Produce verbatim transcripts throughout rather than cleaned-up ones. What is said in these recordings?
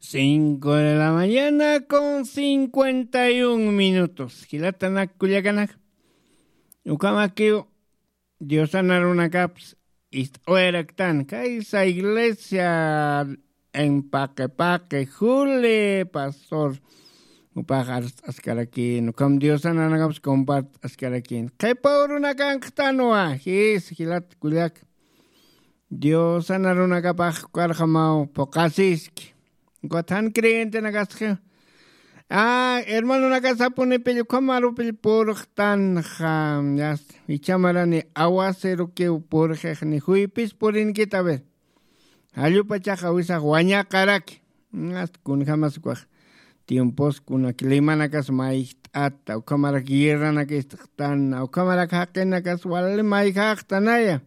Cinco de la mañana con cincuenta y un minutos. Jilatanak kullakanak, ukamakiw diosanarunakapsa ist'awayaraktan kaysa iglesia en paqe paqe juli pastor upax arst'askarakin ukam diosanarunakapsa compart'askarakin qhipa urunakanqtanwa. Jis jilat kullak, diosanarunakapax karxamaw puqasiski. Ukat jan creyentenakasxi, a hermanonakasapunipill ukhamarupill purxtanxa. Yasta ichamarani awaserukiw purxixni juypis purinkita ver. Jallupachaxa wisax wañaqaraki. Asta kunjamas ukax tiempos kuna climanakas mayjt'ata ukhamarak guerranak ist'xtana ukhamarak jaqinakas wali mayjaxtanaya.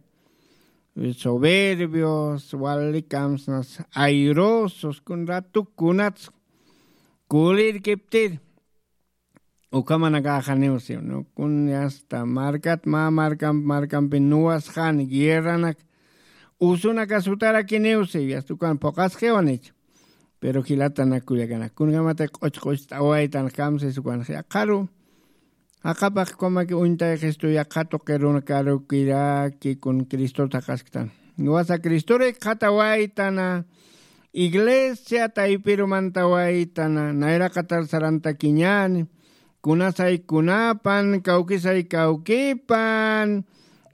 Soberbios wali kamsnas airosos kun ratu kunats kulirkiptir. Ukhamanakaxaniw siw nukun asta markat mä markamp markampi nuwasxani guerranak usunakas utarakiniw siw asta ukan phuqasqiwanichu. Pero jilatanak kullakanak kunjamata q'uch q'ucht'awaytan kamsis ukanxi aqharu jaqapax kumaki uñtayxistu yaqha tuqirunkarukiraki kun cristota jaqasktan. Wasa cristorik qhatawaytana iglesia taypirumantawaytana nayraqatar sarantakiñani. Kunasay kunapan kawkisay kawkipan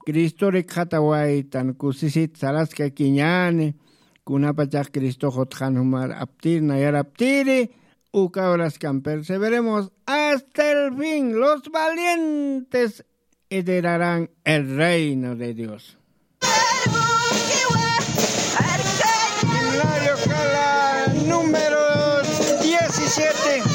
cristorik qhatawaytan kusisit saraskakiñani. Kunapachax cristox utxan jumar aptir nayar aptiri. Uka horaskan perseveremos hasta el fin los valientes heredarán el reino de dios. Himnario kala número diecisiete.